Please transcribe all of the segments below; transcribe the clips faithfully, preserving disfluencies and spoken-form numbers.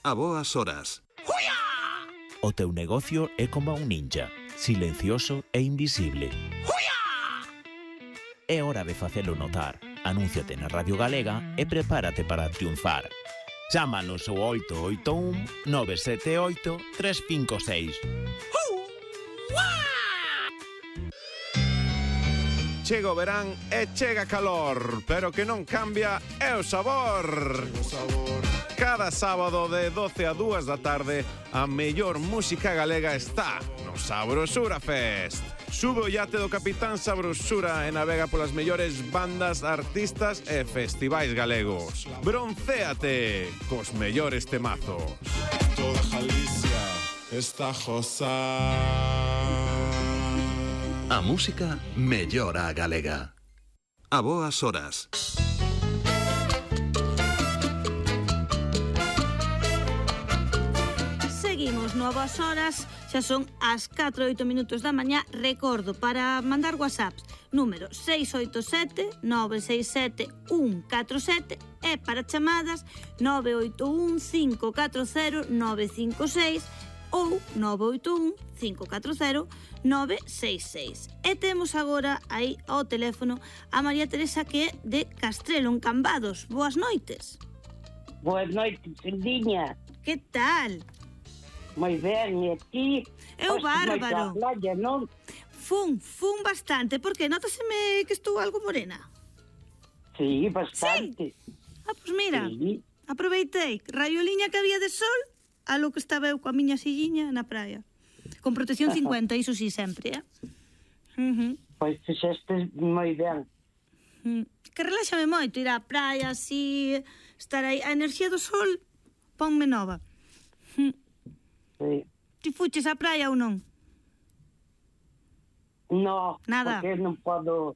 A boas horas. O teu negocio é como un ninja, silencioso e invisible. É hora de facelo notar. Anúnciate na Radio Galega e prepárate para triunfar. Chámanos ao oito oito un nove sete oito tres cinco seis. Chega o verán e chega calor, pero que non cambia é o sabor. Cada sábado de doce a dúas da tarde, a mellor música galega está no Sabrosura Fest. Sube o iate do Capitán Sabrosura e navega polas mellores bandas, artistas e festivais galegos. Broncéate cos mellores temazos. Toda Galicia está josa. A música mellora a galega. A boas horas. Seguimos no a boas horas, xa son as catro e oito minutos da mañá. Recordo, para mandar whatsapps, número seis oito sete nove seis sete un catro sete e para chamadas nove oito un cinco catro cero nove cinco seis ou nove oito un cinco catro cero nove seis seis. E temos agora aí ao teléfono a María Teresa, que é de Castrelo, en Cambados. Boas noites. Boas noites, Sildiña. Que tal? Moi ben, e ti? Eu bárbaro. Playa, non? Fun, fun bastante, porque nótaseme que estou algo morena. Sí, bastante. Sí? Ah, pois mira, Sí. aproveitei raioliña que había de sol a lo que estaba eu coa miña silliña na praia. Con protección cincuenta, iso sí, sempre, eh? Uh-huh. Pois fixeste moi ben. Uh-huh. Que reláxame moito ir á praia, así, estar aí. A enerxía do sol ponme nova. Uh-huh. Sí. Ti fuches á praia ou non? No, Nada. porque non podo,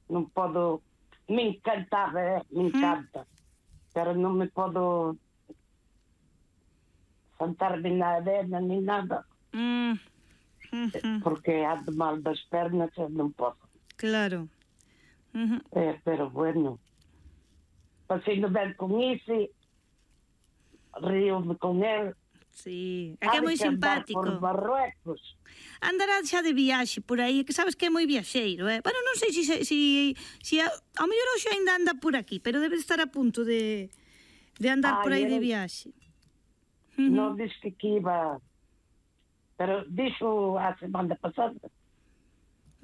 non podo, me encantaba, eh? me encanta, pero non me podo sentarme na arena ni nada, Mm. Uh-huh. porque ando mal das pernas e non podo. Claro. Uh-huh. Eh, pero bueno, pasei no ben con ese, río-me con él. Sí, é que é moi simpático. Por Marruecos. Andará xa de viaxe por aí, que sabes que é moi viaxeiro, eh? Bueno, non sei se, se, si, si a, ao mellor hoxe ainda anda por aquí, pero debe estar a punto de, de andar Ai, por aí era... de viaxe. Uh-huh. Non disse que iba, pero dixo a semana pasada.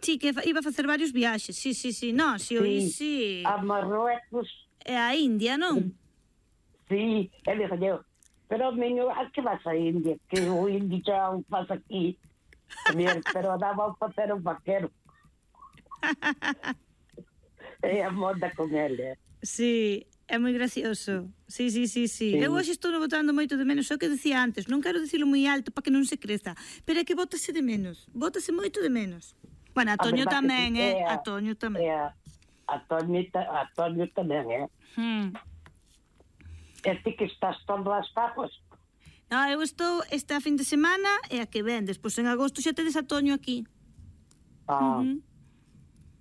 Sí, que iba a facer varios viaxes, sí, sí, sí, no, si o Sí, sí. a Marruecos. É a India, non? Sí, ele dixo, pero menino, a que vas a India? Que o indio xa o faz aquí. Tamén, pero daba o facer o vaquero. É a moda con ele. Sí, é moi gracioso. Sí, sí, sí, sí. Sí. Eu hoxe estou botando moito de menos, o que decía antes, non quero dicilo moi alto para que non se creza, pero é que bótase de menos, bótase moito de menos. Bueno, a Toño verdade tamén, que sí, eh? é A Toño tamén. É a, a, Toño, a Toño tamén, é. Hmm. E ti que estás todo as papas? No, eu estou esta fin de semana e a que ven, despois en agosto xa tedes a Toño aquí. Ah. Uh-huh.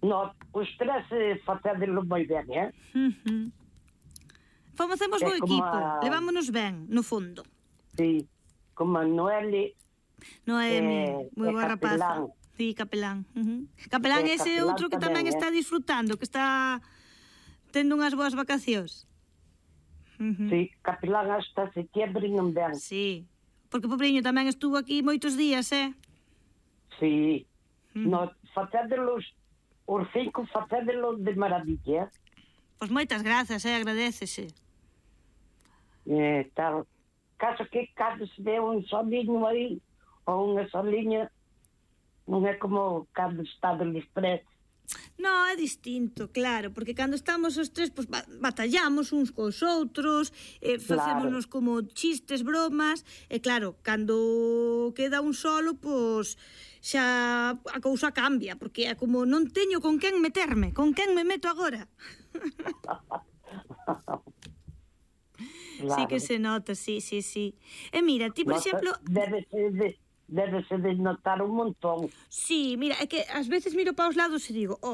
No, os tres eh, facédelo moi ben, eh? Uh-huh. Facemos bo É como equipo, a- levámonos ben, no fondo. Sí, como a Noeli. Noemi, Eh, moi é boa rapaza. capelán. Sí, capelán. Uh-huh. Capelán É ese capelán outro que tamén tamén, está eh. disfrutando, que está tendo unhas boas vacacións. Uh-huh. Sí, capelán hasta setembro non ven. Sí, porque o pobriño tamén estuvo aquí moitos días, eh? Sí. Mm. No, facédelos, os cinco facédelos de maravilla. Pois moitas grazas, eh? Agradécese. Eh, tal. Caso que cando se ve un solinho aí, ou unha soliña, non é como cando está del estrés. No, é distinto, claro, porque cando estamos os tres, pues, batallamos uns cos outros, eh, facémonos Claro. como chistes, bromas, e claro, cando queda un solo, pues, xa a cousa cambia, porque é como non teño con quen meterme, con quen me meto agora. Claro. Sí que se nota, sí, sí, sí. E mira, ti, por Nota- exemplo... Debe ser de, debe ser de notar un montón. Sí, mira, é que ás veces miro para os lados e digo, oh,